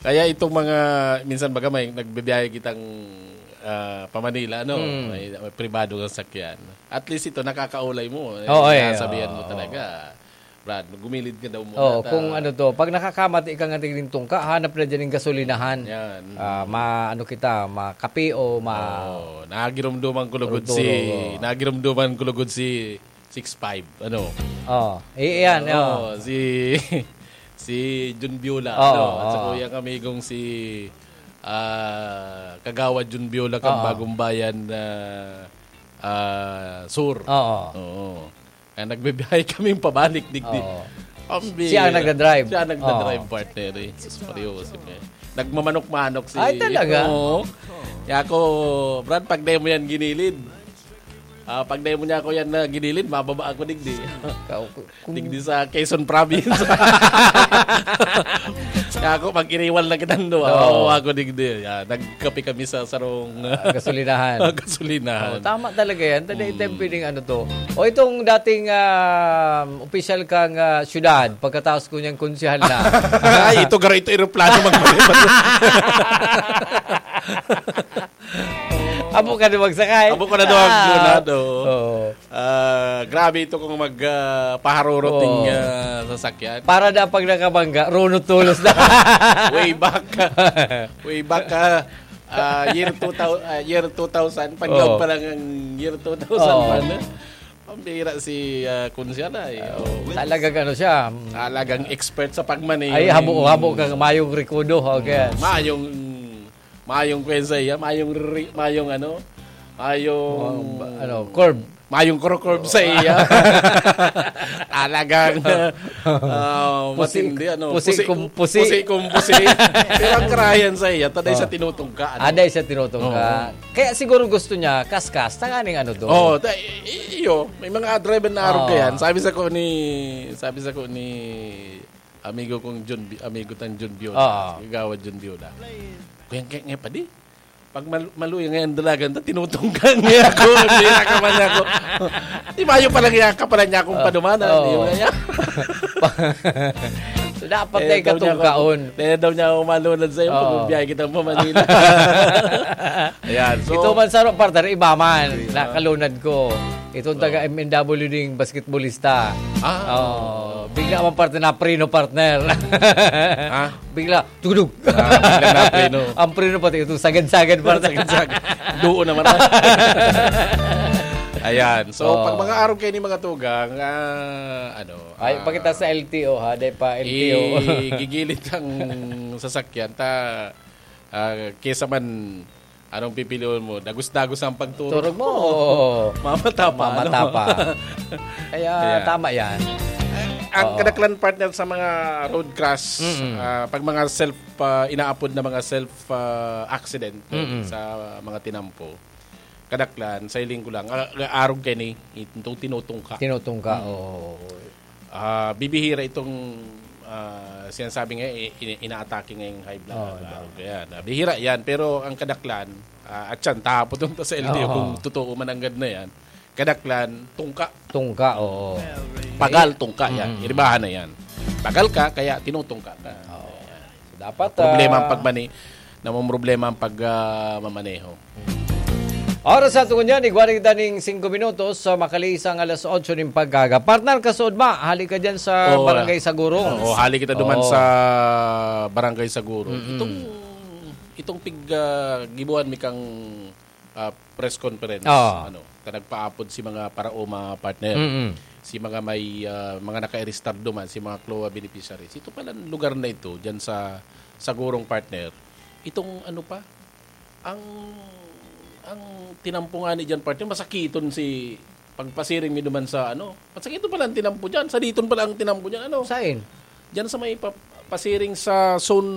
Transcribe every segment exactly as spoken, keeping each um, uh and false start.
Kaya itong mga, minsan baga may nagbibiyahe kitang, ah, pa Manila, ano, Mm. may, may pribado kang sakyan. At least ito, nakakaulay mo. Eh, Oo, eh, nasabihan mo oo. talaga. Brad, gumilid ka daw muna Oo, ta. kung ano to, pag nakakamati ka nga tigning tungka, hanap na dyan yung gasolinahan. Yan. Ah, ma-, ano kita, makape o ma- Oo, nagirumduman ko lugod Ruturo, si, oo. nagirumduman ko lugod si six five, ano? Oo, i-, iyan, Oo, oo. si, si Jun Biola, Oo, ano? At sa oo. kuyang amigong si, ah, Kagawad Jun Biola, kang Oo. Bagong Bayan, ah, ah, Sur. Oo. Oo. Kaya nagbibiyahe kaming pabalik, digdi. Oo. Ang Siya ang bira. nagdadrive. Siya ang nagdadrive, Oo. partner, eh. Sus, Mario, si Pe. Nagmamanok-manok si Ay, talaga? Oo. Kaya ako, Brad, pag demo yan ginilid. Ah, pag demo niya ako yan na ginilid, mababa ako, digdi. Ka-, kung Digdi sa Quezon Province. Kaya ako, pag iniwan lang kitang duwa, Oo. mababa ako, digdi. Yan, nagkape kami sa sarong Ah, gasolinahan. gasolinahan. Oh, tama talaga yan. Tanda, Mm. itong piling ano to. O itong dating, ah, opisyal kang, ah, syudad, pagkatapos ko niyang konsehal na. Ay, ito, garo, ito, eroplano, magbalik. Abo ka na magsakay. Abo ka na daw ang Ah. lunado. Oo. Ah, grabe ito kung mag, ah, paharurot Oo. ning, ah, sasakyan. Para na pag nakabangga, runot tulos na. Way back. Way back, ah, ah, year two thousand, ah, year two thousand, pag Oo. pa lang ang year two thousand Oo. pa na. Ang bira si, ah, Kunsyala, eh. Oo. Oo. Talagang ano siya, mm. Talagang expert sa pagmaneho Ay, ng habo-habo kang mayong rekudo, okay. Mm, mayong, mayong kwen sa iya, mayong ri-, mayong ano, mayong Mga ba-, ano, curve. mayong kuro-curve sa iya. Talagang, ah, Pusi-, matindi, ano, pusi pusi-, kum-, pusi. pusi kum-, pusi. Pero ang karayan sa iya, taday sa Oh. tinutungka, ano? Aday sa tinutungka. Oo. Kaya siguro gusto niya, kaskas, tanganing ano to. Oo, ta-, i-, i-, iyo, may mga driver na arog Oo. ka yan. Sabi sa ko ni, sabi sa ko ni amigo kong Jun Bi-, amigo tang Jun Biola, Oo. si Kagawad Jun Biola. Kuya, kaya nga pa di? Pag mal-, maluya ngayon dalagan ta, tinutungkang niya ako. Hindi na ka man niya ako. Di ba yung pala niya, ka pala niya akong Ah, padumanan? oo. Di ba niya? So, dapat Eh, na daw niya ako, ikatungkaon. eh, daw niya ako malunad sa'yo pag Oo. magbiyahe kita pa Manila. Ayan, so Ito man sa partner, iba man, Hindi, ah. nakalunad ko. Itong taga Oo. M N W ding basketballista. Ah. Oo. Bigla man partner na preno, partner. Ah? Bigla, tugdug. Ah, bigla na preno. Ang preno pati itong sagad-sagad, partner. Sagad-sagad. Doon naman, ah. Ayan. So, Oo. pag mga arog kayo ni mga tugang, ah, ano, Ay, ah, pakita sa L T O, ha? Di pa L T O. igigilid ang sasakyan. Ta, ah, kesa man, anong pipiliin mo? Dagos-dagos ang pagturog Turog mo, mo. oo. Mamata pa, Mamata ano? pa. Kaya, Kaya, tama yan. ang Oo. kadaklan partner sa mga road crash, Mm-mm. ah, pag mga self, ah, inaapod na mga self, ah, accident, eh, Mm-mm. sa mga tinampo, kadaklan, sa hiling ko lang, ah, arog kayo ni, itong tinutungka. Tinutungka, Mm. oo. Ah, bibihira itong, ah, sinasabi nga, i-, i-, inaatake ngayong high blood. Oo, Arog yan. Ah, bihira yan, pero ang kadaklan, ah, at yan, tahapon ta sa L T O Oo. kung totoo man ang gad na yan. Kadaklan, tungka. Tungka, oo. Pagal, tungka yan. Mm. Iribahan na yan. Pagal ka, kaya tinutungka ka. Oo. So, dapat, Problema ang ah, pagmani-, namomroblema ang pag, ah, mamaneho. Oras sa tungo niyan, igwa na kita ning singko minutos, so makaliis ang alas otso ning pagkaga. Partner, kasuod ma, hali ka dyan sa Oo, Barangay ah. Sagurong. Oo, hali kita duman Oo. sa Barangay Sagurong. Mm-mm. Itong, itong pig, ah, gibuhan mi kang, ah, press conference, Oo. ano, ta nagpaapod si mga paraoma partner. Mm-mm. Si mga may, ah, mga nakairistar duman, si mga CLOA beneficiaries. Ito palang lugar na ito, dyan sa Sagurong partner. Itong ano pa, ang, ang tinampo nga ni dyan, partner, masakiton si pagpasiring mi duman sa, ano, masakiton pala ang tinampo dyan. Sa diton pala ang tinampo dyan, ano? Sain? Dyan sa may pa-, pasiring sa Zone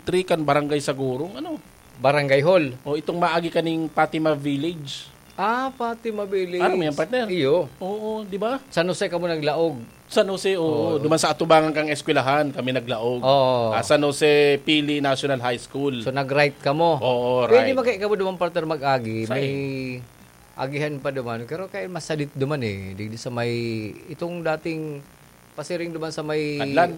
three kan Barangay Sagurong, ano? Barangay Hall. O, itong maagi kaning Fatima Village. Ah, Fatima Village. Ano mo yan, partner? Iyo. Oo, di ba? San Jose kamo naglaog. San Jose, oo. Oo. Duman sa atubangan kang eskwelahan, kami naglaog. Oo. Ah, San Jose Pili National High School. So, nag-right kamo? Oo, Pwede right. magkaya kamo duman, partner, mag-agi. Saan? May agihan pa duman. Pero kaya masadit duman eh. Digdi sa may, itong dating pasiring duman sa may Kadlan?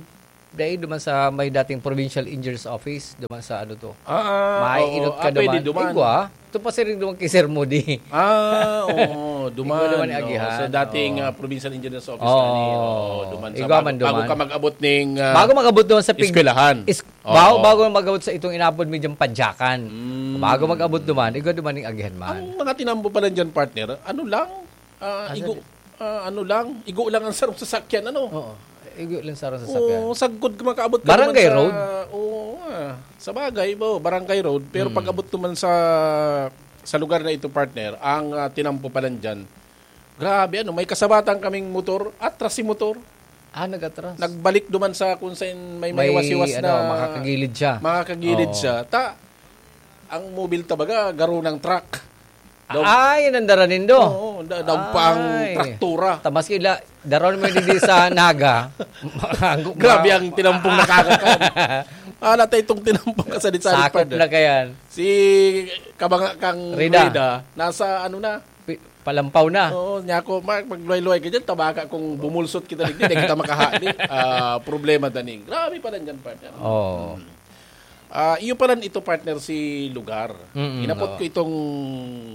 Dai duman sa may dating provincial engineer's office, duman sa ano to. Ah, Mainot oo. ka Ah, pwede duman. duman. Igwa, ito pa siring duman kay Sir Moody. Ah, oo, duman. Ikaw naman ang Oo, agihan. sa dating Oo. ah, provincial engineer's office Oo. na ni, oo, duman sa Ikaw bago, man bago duman. ka mag-abot ning ah, Bago mag-abot duman sa pig- eskwelahan. Is, Oo. bago, bago mag-abot sa itong inabot medyo padyakan. Mm. Bago mag-abot duman, igwa duman ning agihan man. Ang mga tinampo pala dyan, partner, ano lang, ah, Asa igo, di- ah, ano lang, igo lang ang sarong sasakyan, ano? Oo. Igwa lang sarong sasakyan. Oo, sagkod ka makaabot ka Barangay naman sa, road? Oo, ah, sa bagay, bo, barangay road. Pero Mm. pag-abot naman sa sa lugar na ito, partner, ang ah, tinampo pala dyan, grabe, ano, may kasabatan kaming motor, atras si motor. Ah, nag-atras. Nagbalik duman sa kung saan may, may May, hiwas-hiwas ano, na makakagilid siya. Makakagilid Oo. siya. Ta, ang mobil tabaga, garo ng truck. Daw, Ay, nandara nindo. Oo, da- daw pa ang Ay. traktura. Tamas kila, daron mo hindi sa Naga. Makanggo- Grabe ang tinampong nakakakan. Ala tayo itong tinampong kasalit-salit, Sakop partner. Na kayan. Si kabanga kang Rida. Rida, nasa ano na? Pi- Palampaw na. Oo, niya ako, Mark, magluway-luway ka dyan, tabaka kung bumulsot kita digdi, di kita makahali. Ah, problema daning. Grabe pala dyan, partner. Oo. Ah, iyo pala ito, partner, si lugar. Mm-mm, Hinapot oo. ko itong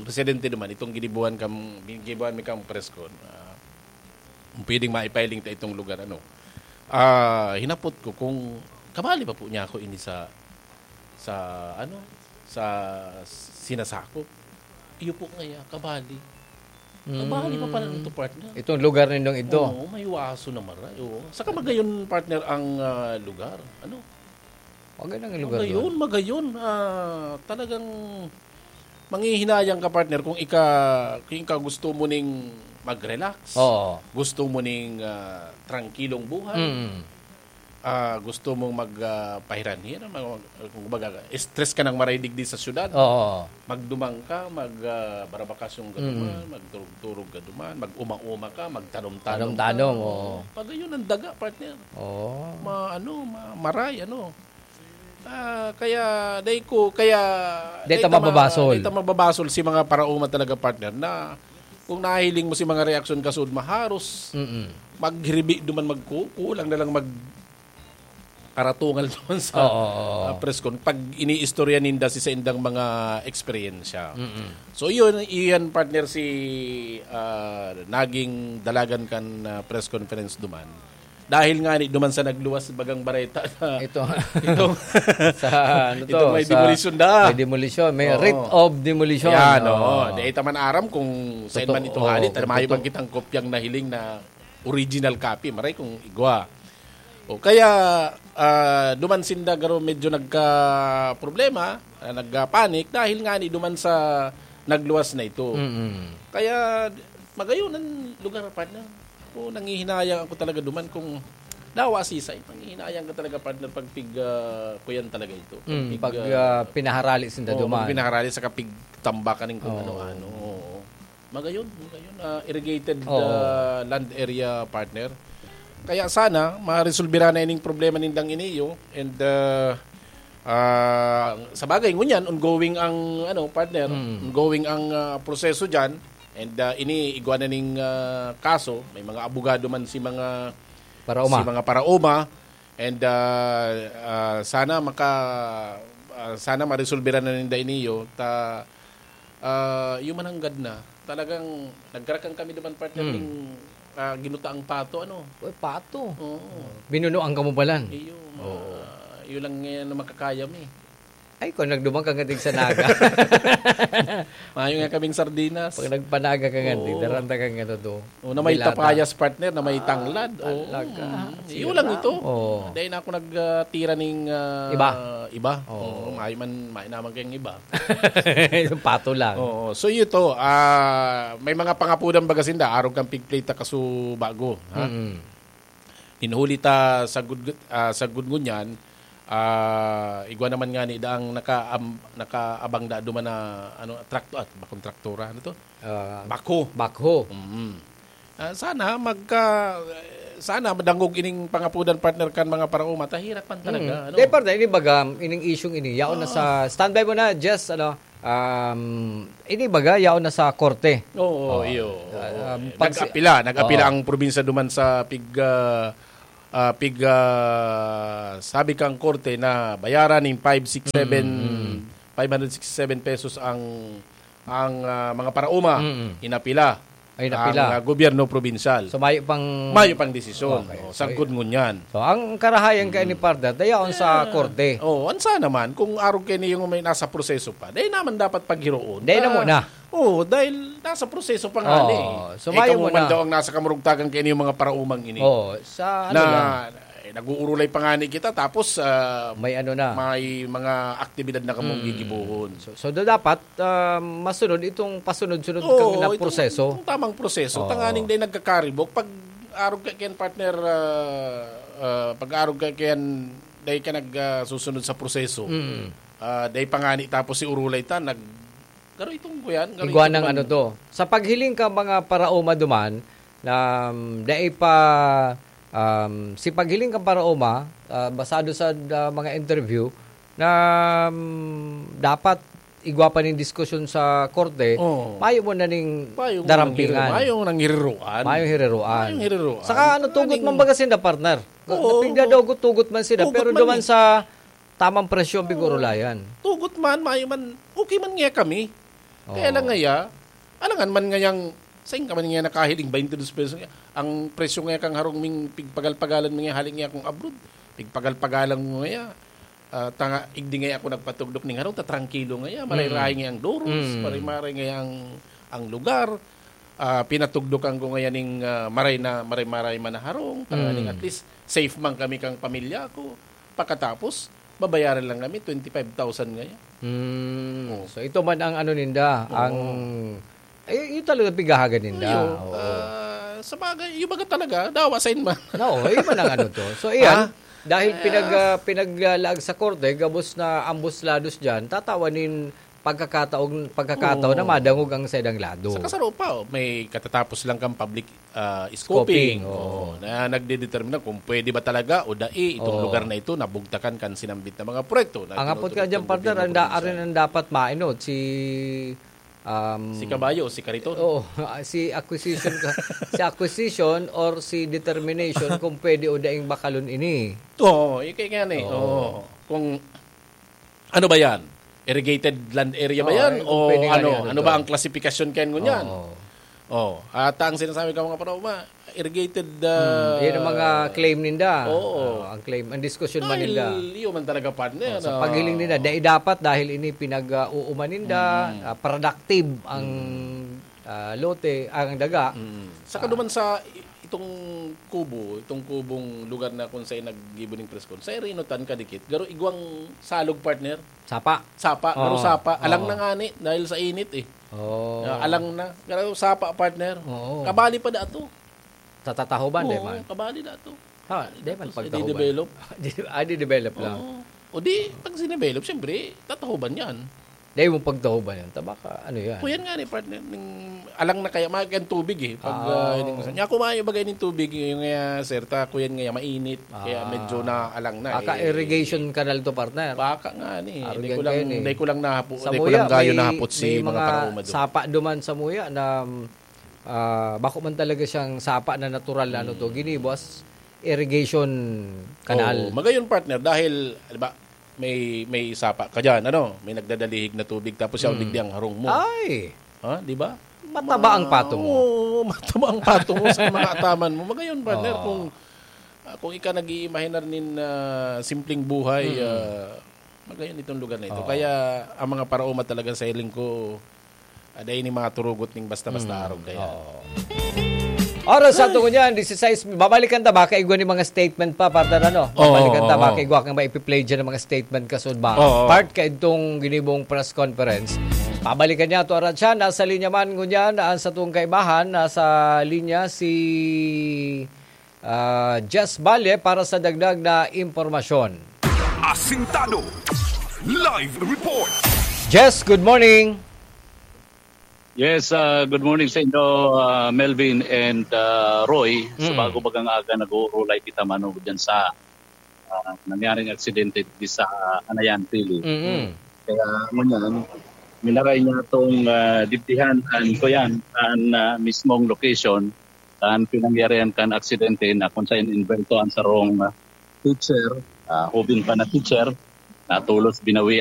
residente naman, itong ginibuhan kam, ginibuhan mi kang press con. Ah, kung pwedeng maipahiling ta itong lugar, ano. Ah, hinapot ko kung kabali pa po niya ako ini sa sa ano, sa sinasakop. Iyo po ngaya, kabali. Kabali pa pala Mm. ito, partner. Itong lugar nindong ito. Oo, may waso na maray. Oo. Saka magayon, partner, ang ah, lugar. Ano? Magayon ang lugar Magayon, doon. Magayon. Ah, talagang manghihinayang ka, partner, kung ika, kung ika gusto mo ning mag-relax. Oo. Gusto mo ning ah, trangkilong buhay. Mm. Ah, gusto mong mag ah, pahiranhiran, mag, mag, kumbaga, stress ka ng maray digdi sa syudad. Oo. Magdumang ka, mag ah, barabakasyon ka Mm. duman, magturog-turog ka duman, mag-uma-uma ka, magtanom-tanom Tanom-tanom, ka. Oo. Pag yun ang daga, partner. Oo. Ma, ano, ma, maray, ano. Ah, kaya, dahil ko, kaya... Dahil ta mababasol. Dahil ta mababasol si mga parauma talaga, partner, na kung nahiling mo si mga reaksyon kasud maharos, Mm-mm. maghiribi duman magkukulang na lang mag karatungal naman sa Oo, oo, oo. ah, press con pag iniistorya ninda si sa indang mga eksperyensya. Mm-mm. So iyon, iyan partner si ah, naging dalagan kan ah, press conference duman. Dahil nga ni duman sa nagluwas bagang bareta na Ito. itong Sa ano to? Itong may Sa- demolition na. May demolition. May Oo. writ of demolition. Yan, Oo. oo. Di ita man aram kung saan Totoo. man ito hali. Oo, Tama yung totoo. bang kitang kopyang nahiling na original copy. Maray kung igwa. O kaya ah, duman sinda garo medyo nagka-problema, ah, nagka-panic dahil nga ni duman sa nagluwas na ito. Mm-mm. Kaya magayon ang lugar, partner. Ako, nangihinayang ako talaga duman kung dawa sisay. Nangihinayang ka talaga, partner, pag pig, ah, kuyan talaga ito. Mm, pig, pag ah, ah, pinaharali sinda Oo, duman. pag pinaharali sa kapig tambakan ng kung Oo. ano-ano. Oo. Magayon, magayon. Ah, irrigated Oo. ah, land area, partner. Kaya sana, maresolbira na ining problema nindang iniyo. And ah, ah, sa bagay, ngunyan, ongoing ang, ano, partner, Mm. ongoing ang ah, proseso dyan. And ah, ini, igwa na ning ah, kaso. May mga abogado man si mga Parauma. si mga parauma. And ah, ah, sana maka ah, sana maresolbira na ninda iniyo ta ah, yung mananggad na talagang nagkarakan kami duman, partner, Hmm. ning ah, ginutaang pato, ano. Uy, pato. Oo. Binunuan ka mo balan. Iyo, ma- Oo. Iyo lang ngayon na makakaya mi. Ay, kung nagdumang ka nga sa Naga. Mayo nga kaming sardinas. Pag nagpanaga ka nga, Oo. di, daranta ka nga to. O, na may Bilada. Tapayas, partner, na may Ah, tanglad. Oo. talaga. Mm. Sige Iyo lang na. ito. Oo. Dahil na ako nag-tira ning ah, Iba. Iba. Oo. Oo, may man, may naman kayong iba. Yung pato lang. Oo. So, ito, ah, may mga pangapudan baga sinda, arog kang pigplay ta kaso bago. Ha? Mm-mm. Hinuhuli ta sa gud, ah, sa gud ngunyan, ah, igwa naman nga ni daang naka, am, nakaabang da duman na ano, trakto, at bakong traktora, ano to? Ah, Bako. Bakho. Mm. Ah, sana magka sana madangog ining pangapudan, partner, kan mga parauma, ta hirak man talaga, Mm. ano? Di, partner, ini baga, ining isyung ini. Yaon na sa, standby mo na, Jess, ano, um, ini baga, yaon na sa korte. Oo, Oh. iyo. Ah, Oo. um, pag- Nag-apila, nag-apila Oo. ang probinsya duman sa pig ah, ah, pig, ah, sabi kang korte na bayaran ning five six seven, Mm, mm. five hundred sixty-seven pesos ang, ang, ah, mga paraoma, Mm. inapila Ay, napila. ang, ah, gobyerno probinsyal. So, mayo pang Mayo pang desisyon. Okay. Oh, So, sagkod ngunyan. so, ang karahayan kay ni Mm. partner, dayaon sa Eh, korte. oh, ansa naman, kung arog kay niyo may nasa proseso pa, dahil naman dapat paghiroon. Dahil na Ah, muna. Oo, dahil nasa proseso pa nga Oo. ni. So, Eh, mayo kamo mo man na. daw ang nasa kamurugtakan kay niyo mga paraomang ini. Oo, sa ano na, lang. eh, nag-uurulay pa nga ni kita, tapos, ah, May ano na. may mga aktibidad na kamong Mm. gigibohon. So, so, da-, dapat, ah, masunod itong pasunod-sunod Oo, kang na itong, proseso. itong tamang proseso. Oo. Tanganing dahil nagkakaribok, pag arog ka kaya, partner, ah, ah, pag arog ka kaya, dahil ka nag, ah, susunod sa proseso, Mm. ah, dahil pa nga ni tapos si urulay ta, nag, garo itong kuyan, garo Igwa itong ng man- ano to. Sa paghiling ka mga paraoma duman, na, um, dai pa, um, si paghiling kan paraoma, ah, basado sa, ah, mga interview, na, um, dapat igwa pa ning diskusyon sa korte, Oo. mayo mo na ning Mayong darampingan. nanghiri-, mayong nanghiriruan. Mayong hiriruan. Mayong hiriruan. Saka ano, tugot Aning man baga sinda, partner? Oo. Pigdadogot-tugot man sila, Tugot pero man duman eh. sa tamang presyo ang Oo. pigurulayan. Tugot man, mayo man, okay man nga kami. Kaya Oo. lang ngaya, alangan man ngayang, sain ka man nga nakahiling, twenty-two pesos nga. Ang presyo nga kang harong ming pigpagal-pagalan mo nga, hali nga akong abroad. Pigpagal-pagalan mo nga, ah, tanga, igdi nga ako nagpatugdok ning harong, tatrangkilo nga ya, maray-ray Mm. nga ang doros, Mm. maray-maray nga ang, ang lugar. Ah, pinatugdokan ko ngayon ning, ah, maray na, maray-maray man na harong, tanganing Mm. at least safe man kami kang pamilya ko. Pakatapos, babayaran lang kami twenty-five thousand ngayon. Mm. Oo. So, ito man ang ano ninda, Oo. ang, eh, yun talaga pigahagan ninda. Ayo, Oo. ah, sa bagay, yung baga talaga, dawa sa inman. No, yun man ang ano to. So, iyan, Ah? dahil Ah. pinag-, ah, pinaglalaag sa korte, gabos na ambos lados dyan, tatawan nin pagkakataon, pagkakataon Oo. na madangog ang saidang lado. Sa kasaro pa, oh, may katatapos lang kang public, ah, Scoping, scoping. oo. Oo, na nagdedetermina kung pwede ba talaga o dai itong Oo. lugar na ito na bugtakan kan sinambit na mga proyekto na Ang apot tinutuloy ka dyan, ng partner, gobyerno ang da-, probinsya. arin ang dapat mainot, si, um, Si Kabayo o si Kariton? Oo, si acquisition ka, si acquisition or si determination kung pwede o daing bakalon ini. Oo, ikay nga ni. Oo. Oo. Kung Ano ba yan? Irrigated land area ba Oo, yan? eh, kung O pwede nga ano? niya, ano Ano to? ba ang klasifikasyon kayan ngunyan? Oo. Oh, at ang sinasabi ka, mga paraoma, irrigated, Hmm, ah, yan ang mga claim ninda. Oo. Ah, ang claim, ang diskusyon man Dahil ninda. yun man talaga, partner, Oh, sa ah. paghiling ninda, dai dapat dahil ini pinag-uuman ninda, Mm. ah, productive ang, Mm. ah, lote, ang daga. Mm. Saka Ah. duman sa i-, itong kubo, itong kubong lugar na kung saan naggibo ning press con, sa Irinutan kadikit, garo igwang salog, partner. Sapa? Sapa, Oo, garo sapa. Alang oo. na ngani dahil sa init eh. Oo. Ah, alang na. Garo sapa, partner. Oo. Kabali pa dato. Tatatahoban, Oo, di man? kabali dato. Ha, di man Tapos, pagtahoban. i-develop. Di, ah, di-develop lang. Oo. O di, pag sinevelop, siyempre, tatahoban yan. Dahil mong pagtahoban yan, tabaka, ano yan? Kuyan nga ni partner, ning, alang na kaya, maaga ang tubig eh. Pag, Ah, ah, oo. ining, niya, kumain yung bagay ng tubig, yung nga, sir, ta, kuyan nga, mainit, kaya Ah. medyo na alang na Baka eh. irrigation canal to, partner. Baka nga ni, Arog di yan ko lang, kayo ni. di ko lang nahapo-, Sa di ko Muya, lang gayo may, nahapot si may mga mga paraoma doon. sapa duman sa Muya na, ah, bako man talaga siyang sapa na natural na ano to, Mm. ginibo as irrigation canal. Oo, magayon, partner, dahil, di ba, may, may sapa ka dyan, ano? May nagdadalihig na tubig, tapos siya Hmm. digdi ang harong mo. Ay! Ha, di ba? Mataba ang Ma-, pato mo. oo, mataba ang pato mo sa mga ataman mo. Magayon, partner, Oo. kung, ah, kung ika nag-iimahinar nin, ah, simpleng buhay, Mm. ah, magayon itong lugar na ito. Oo. Kaya, ang mga paraoma talaga sa hiling ko, ah, dahil ni mga turugot ning basta-basta Mm. arog kaya. Oo. Oras sa Ay. ato ngunyan, disisais, babalikan ta ba? Kaigwa ni mga statement pa, partner, ano? Oo, Babalikan ta ba? oo. Kaigwa kang maipi-play dyan ng mga statement kasud ba? Oo. Part ka itong ginibong press conference. Babalikan niya ito, Aratsa. Nasa linya man ngunyan, ang satong kaibahan. Nasa linya si, ah, Jess Valle para sa dagdag na impormasyon. Asintado. Live report. Jess, good morning. Yes, ah, good morning sa inyo, ah, Melvin and, ah, Roy. Sa Mm. bago bagang aga, nag-uurulay kita manugod dyan sa, ah, nangyaring aksidente di sa Anayan, Pili. Mm. Kaya ngunyan, minaray niya itong, ah, dibdihan, an, kuyan, an, ah, mismong location. Kan pinangyarihan kan aksidente na kung saan inbelto ang sarong, ah, teacher, ah, hubin pa na teacher, na tolos binawian